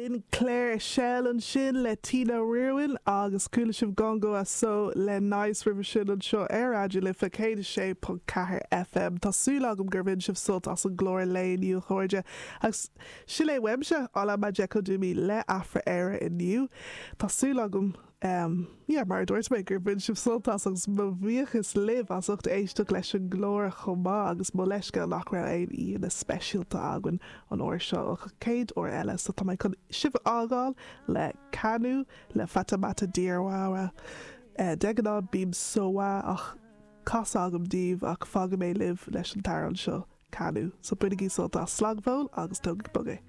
B'in Claire Shell ansin le Tina Riordain agus chuala sibh Gongo Aso le Nice roimhe sin anseo ar Raidió Life 106.4 FM. Tá súil agam gur bhain sibh sult as an gclár lae inniu a chairde. Agus sin é uaimse, Ola Majekodunmi le Afra Éire inniu. Tá súil agam. Em, yeah, mar a dúirt mé, gur bhain sibh sult as agus mo bhuíochas libh as ucht éisteacht leis an gclár chomh maith agus mo leithscéal nach raibh aon aíonna speisialta againn an uair seo ach an chéad uair eile so tá mé chun sibh a fhágáil le Kanu le Fatoumata Diawara. Eh, de ghnáth bím so ach casadh agam daoibh ach fágfaidh mé libh leis an t-amhrán seo, Kanu. So bainigí sult as, slán go fóill agus tógaigí bog é.